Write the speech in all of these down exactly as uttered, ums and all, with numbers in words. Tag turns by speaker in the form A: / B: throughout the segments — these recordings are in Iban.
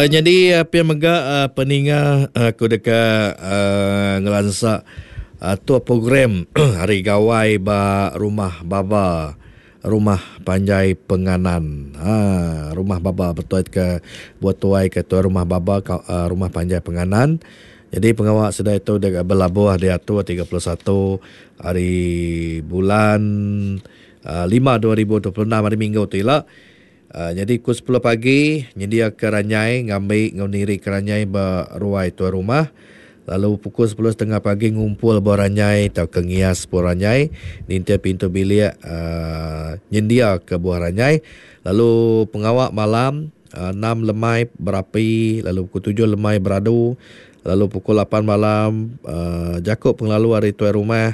A: Uh, jadi uh, pia mega uh, peninga aku uh, deka uh, ngelansa atur uh, program Hari Gawai ba Rumah Baba, Rumah Panjai Penganan. Ha, Rumah Baba betul ke buat tuai ke tuai Rumah Baba uh, Rumah Panjai Penganan. Jadi pengawal sedai itu deka berlabuh diatur tiga puluh satu hari bulan uh, lima dua ribu dua puluh enam hari Minggu tu ila. Uh, jadi pukul sepuluh pagi nyedia ke ranyai ngambi ngau niri ke ranyai beruai tuai rumah. Lalu pukul sepuluh setengah pagi ngumpul buah ranyai atau ke ngias buah ranyai nintir pintu bilik uh, nyendia ke buah ranyai. Lalu pengawak malam uh, enam lemai berapi, lalu pukul tujuh lemai beradu, lalu pukul lapan malam uh, jakuk penglalu hari tuai rumah.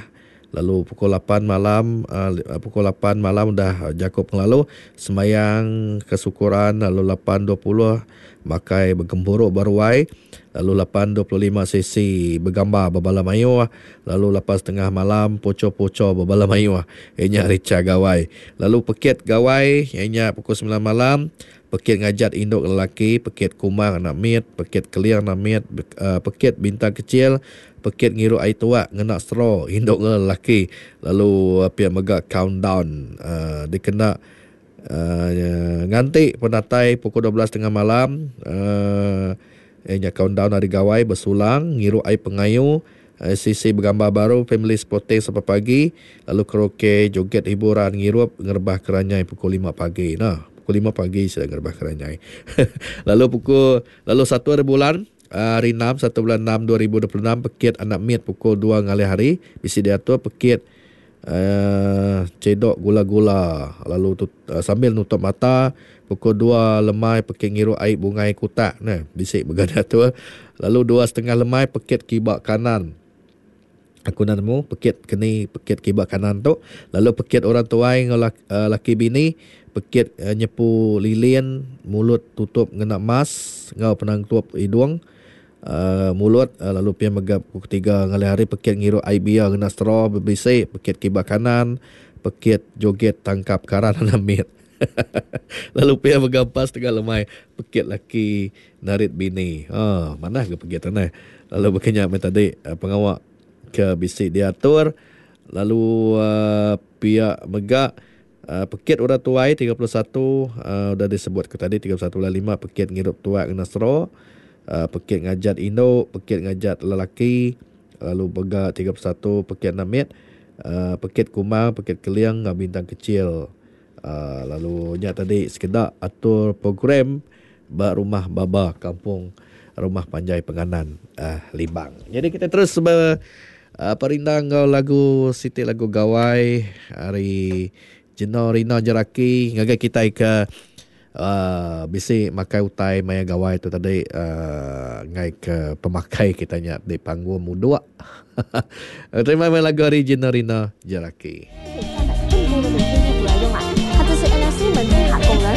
A: Lalu pukul lapan malam uh, pukul lapan malam dah jakuk penglalu semayang kesyukuran, lalu lapan dua puluh makai bergempuruk baruai, lalu lapan dua puluh lima sesi bergambar berbala mayuh, lalu lapan setengah malam poco-poco berbala mayuh inya rica gawai. Lalu pekit gawai inya pukul sembilan malam, pekit ngajat induk lelaki, pekit kumang anak mit, pekit keliang anak mit, uh, pekit bintang kecil, pekit ngiru air tuak ngena straw induk lelaki. Lalu uh, pihak mega countdown uh, dikena uh, nganti penatai pukul dua belas tengah malam, uh, inya countdown hari gawai bersulang ngiru air pengayu, uh, sisi bergambar baru family sporting sampai pagi, lalu karaoke joget hiburan ngirup ngerebah keranyai pukul lima pagi. Nah, pukul lima pagi sudah ngerebah keranyai. Lalu pukul lalu satu hari bulan hari enam, satu bulan enam dua ribu dua puluh enam, pekit anak mit pukul dua ngalih hari bisi diatur pekit uh, cedok gula-gula, lalu tut, uh, sambil nutup mata pukul dua lemai pekit ngiru air bungai kutak nah bisi bergada tu. Lalu dua setengah lemai pekit kibak kanan. Aku nak nemu pekit keni pekit kibak kanan tu. Lalu pekit orang tuai dengan laki, uh, laki bini, pekit uh, nyepu lilin, mulut tutup ngena mas ngau penangtup hidung, uh, mulut, uh, lalu pia megap pukul tiga ngalih hari pekit ngiru air bia ngena straw berbisik, pekit kibak kanan, pekit joget tangkap karan anak mit. Lalu pia megampas tengah lemai pekit laki narit bini. Ha, mana ke pekit tanah. Lalu berkenyak main tadi uh, pengawak ke bisik diatur. Lalu uh, pihak megak uh, pekit orang tuai tiga puluh satu uh, dah disebut ke tadi tiga puluh satu bulan lima pekit ngirup tuak kena straw, uh, pekit ngajat induk, pekit ngajat lelaki, lalu megak tiga puluh satu pekit namit, uh, pekit kumang, pekit keliang ngau bintang kecil. Uh, lalu nya tadi sekedak atur program ba Rumah Baba Kampung Rumah Panjai Penganan uh, Limbang. Jadi kita terus ber Uh, perindang ngau lagu Siti lagu Gawai hari Jeno Rina Jeraki ngagai kita ke uh, bisi makai utai maya gawai tu tadi uh, ngai ke pemakai kita nya di panggung muduk. Terima kasih lagu hari Jeno Rina Jeraki.